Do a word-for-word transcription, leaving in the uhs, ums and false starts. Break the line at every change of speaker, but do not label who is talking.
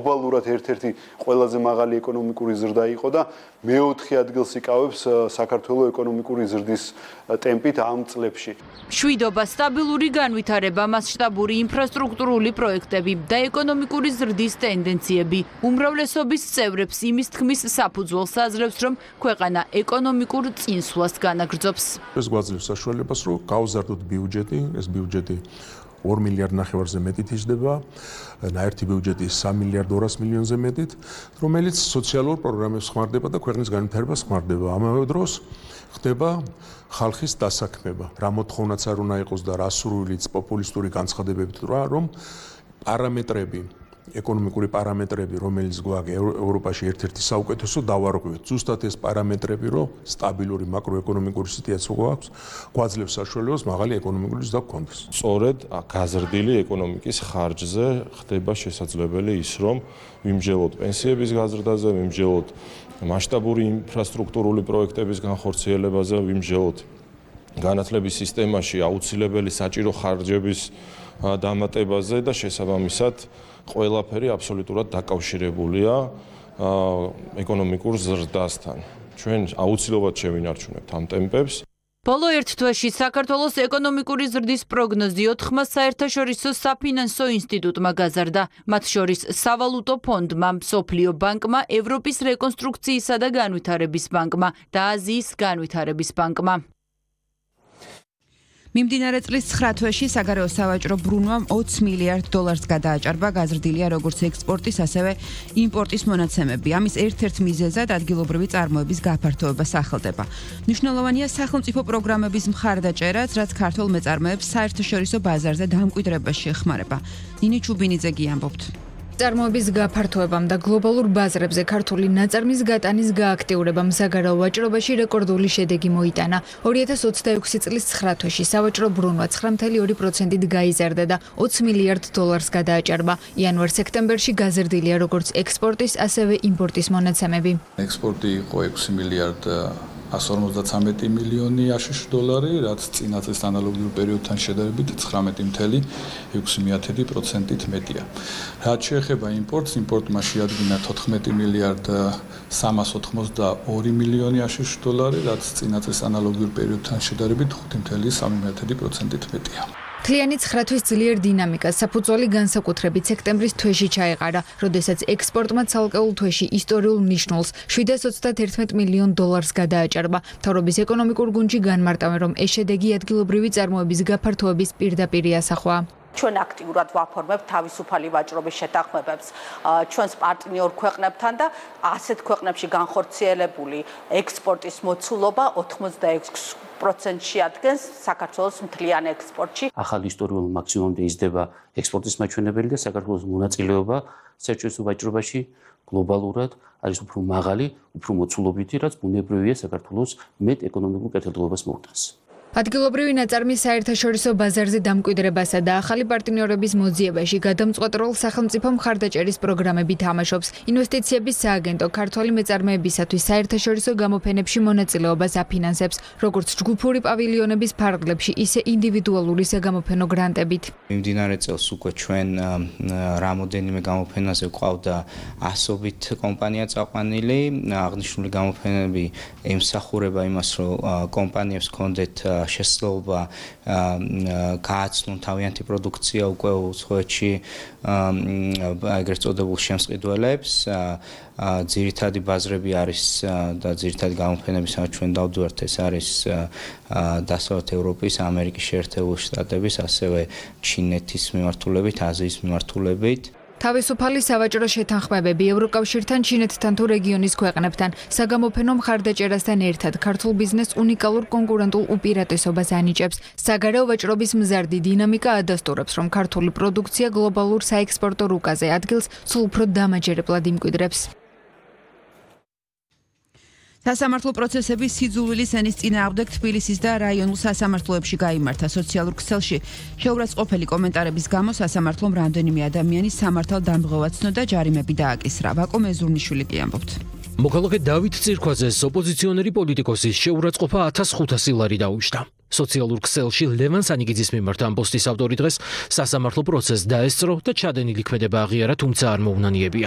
გლობალურად ერთ-ერთი ყველაზე მაღალი ეკონომიკური ზრდა იყო და მეოთხე ადგილს იკავებს საქართველოს ეკონომიკური ზრდის ტემპით ამ წლებში.
მშვიდობა, სტაბილური განვითარება, მასშტაბური ინფრასტრუქტურული პროექტები და ეკონომიკური ზრდის ტენდენციები უმრავლესობის წევრებს იმის თქმის საფუძველს აძლევს, რომ ქვეყანა ეკონომიკურ წინსვლას განაგრძობს.
ეს გვაძლევს საშუალებას, რომ გავზარდოთ ბიუჯეტი, ეს ბიუჯეტი ორ მილიარდ ნახევარზე მეტით იზრდება, ნაერთი ბიუჯეტი სამი მილიარდ ორას მილიონზე მეტით, რომელიც სოციალურ პროგრამებს ხმარდება და ქვეყნის განვითარებას ხმარდება. ამავე დროს ხდება ხალხის დასაქმება. რა მოთხოვნაც არ უნდა იყოს და რა სურვილიც პოპულისტური განცხადებებით რა, რომ პარამეტრები ეკონომიკური პარამეტრები, რომელიც გვაქვს ევროპაში ერთ-ერთი საუკეთესო დავარღვევთ. ზუსტად ეს პარამეტრები, რომ სტაბილური მაკროეკონომიკური სიტუაცია გვაქვს, გვაძლევს საშუალებას მაღალი ეკონომიკური ზრდა გქონდეს.
სწორედ გაზრდილი ეკონომიკის ხარჯზე ხდება შესაძლებელი ის, რომ ვიმსჯელოთ პენსიების გაზრდაზე, ვიმსჯელოთ მასშტაბური ინფრასტრუქტურული პროექტების განხორციელებაზე, ვიმსჯელოთ განათლების სისტემაში აუცილებელი საჭირო ხარჯების დამატებაზე და შესაბამისად ყველაფერი აბსოლუტურად დაკავშირებულია ეკონომიკურ ზრდასთან. ჩვენ აუცილებლად შევინარჩუნებთ ამ ტემპებს.
ბოლო ერთ თვეში საქართველოს ეკონომიკური ზრდის პროგნოზი ოთხმა საერთაშორისო საფინანსო ინსტიტუტმა გაზარდა. მათ შორის სავალუტო ფონდმა, მსოფლიო ბანკმა, ევროპის რეკონსტრუქციისა და განვითარების ბანკმა და აზიის განვითარების ბანკმა. მიმდინარე წლის ცხრა თვეში საგარეო სავაჭრო ბრუნვამ ოცი მილიარდ დოლარს გადააჭარბა, გაზრდილია როგორც ექსპორტის, ასევე იმპორტის მონაცემები. ამის ერთ-ერთ მიზეზად ადგილობრივი წარმოების გაფართოება სახელდება. მნიშვნელოვანია სახელმწიფო პროგრამების მხარდაჭერაც, რაც ქართულ მეწარმეებს საერთაშორისო ბაზარზე დამკვიდრებაში ეხმარება. ნინი ჩუბინიძე ამბობთ.
წარმოების გაფართოებამ და გლობალურ ბაზრებზე ქართული ნაწარმის გატანის გააქტიურებამ საგარეო ვაჭრობაში რეკორდული შედეგი მოიტანა. ორი ათას ოცდაექვსი წლის ცხრა თვეში სავაჭრო ბრუნვა ცხრა მილიარდ ორი პროცენტით გაიზარდა და ოცი მილიარდ დოლარს გადააჭარბა. იანვარ-სექტემბერში გაზრდილია როგორც ექსპორტის, ასევე იმპორტის მონაცემები.
ექსპორტი იყო ექვსი მილიარდ ასი ორმოცდათვრამეტი მილიონი აშშ დოლარი, რაც წინა წლის ანალოგიურ პერიოდთან შედარებით ცხრამეტი მილიარდ ექვსი პროცენტით მეტია. რაც შეეხება იმპორტს, იმპორტმა შეადგინა თოთხმეტი მილიარდ სამას ოცდაორი მილიონი აშშ დოლარი, რაც წინა წლის ანალოგიურ პერიოდთან შედარებით ხუთი მილიარდ სამი პროცენტით მეტია.
მთლიანი ცხრა თვის ძლიერ დინამიკას საფუძველი განსაკუთრებით სექტემბრის თვეში ჩაეყარა, როდესაც ექსპორტმა ცალკეულ თვეში ისტორიულ მნიშვნელს შვიდას ოცდათერთმეტ მილიონ დოლარს გადააჭარბა. მთავრობის ეკონომიკურ გუნდში განმარტავენ, რომ ეს შედეგი ადგილობრივი წარმოების გაფართოების პირდაპირი ასახვა.
ჩვენ აქტიურად ვაფორმებთ თავისუფალი ვაჭრობის შეთანხმებებს ჩვენს პარტნიორ ქვეყნებთან და ასეთ ქვეყნებში განხორციელებული ექსპორტის მოცულობა ოთხმოცდაექვსი პროცენტში ადგენს საქართველოს მთლიან ექსპორტში.
ახალ ისტორიულ მაქსიმუმამდე იზრდება ექსპორტის მაჩვენებელი და საქართველოს მონაწილეობა საერთაშორისო ვაჭრობაში გლობალურად არის უფრო მაღალი, უფრო მოცულობითი, რაც ბუნებრივია საქართველოს მეტ ეკონომიკურ კეთილდღეობას მოუტანს.
ადგილობრივი ნაწარმის საერთაშორისო ბაზარზე დამკვიდრებასა და ახალი პარტნიორების მოძიებაში გადამწყვეტ როლს სახელმწიფო მხარდაჭერის პროგრამები თამაშობს. ინვესტიციების სააგენტო ქართველი მეწარმეებისათვის საერთაშორისო გამოფენებში მონაწილეობას აფინანსებს, როგორც ჯგუფური პავილიონების ფარგლებში, ისე ინდივიდუალური საგამოფენო გრანტებით.
მიმდინარე წელს უკვე ჩვენ რამოდენიმე გამოფენაზე გვყავდა ასობით კომპანია წაყვანილი. აღნიშნული გამოფენები ემსახურება იმას, რომ კომპანიებს ჰქონდეთ შესაძლებლობა გააცნონ თავიანთი პროდუქცია უკვე უცხოეთში ეგრეთ წოდებულ შემსყიდველებს. ძირითადი ბაზრები არის და ძირითადი გამოფენები, სადაც ჩვენ დავდივართ, ეს არის დასავლეთ ევროპის, ამერიკის შეერთებული შტატების, ასევე ჩინეთის მიმართულებით, აზიის მიმართულებით.
თავისუფალი სავაჭრო შეთანხმებები ევროკავშირთან, ჩინეთთან თუ რეგიონის ქვეყნებთან საგამოფენო მხარდაჭერასთან ერთად ქართულ ბიზნესს უნიკალურ კონკურენტულ უპირატესობას ანიჭებს. საგარეო ვაჭრობის მზარდი დინამიკა ადასტურებს, რომ ქართული პროდუქცია გლობალურ საექსპორტო რუკაზე ადგილს სულ უფრო დამაჯერებლად იმკვიდრებს. სასამართლო პროცესები სიძულვილის ენის წინააღმდეგ თბილისის და რაიონულ სასამართლოებში გაიმართა. სოციალურ ქსელში შეურაცხყოფელი კომენტარების გამო სასამართლომ რამდენიმე ადამიანი სამართალ დამღევად ცნო და ჯარიმები დააკისრა. ვაკო მეზურნიშვილი კი ამბობთ.
მოქალაქე დავით წირქვაძეს ოპოზიციონერი პოლიტიკოსის შეურაცხყოფა ათას ხუთასი ლარი დაუჯდა. სოციალურ ქსელში ლევან სანიგიძის მიმართ ამ პოსტის ავტორი დღეს სასამართლო პროცესს დაესწრო და ჩადენილი ქმედება აღიარა, თუმცა არ მოუნანიებია.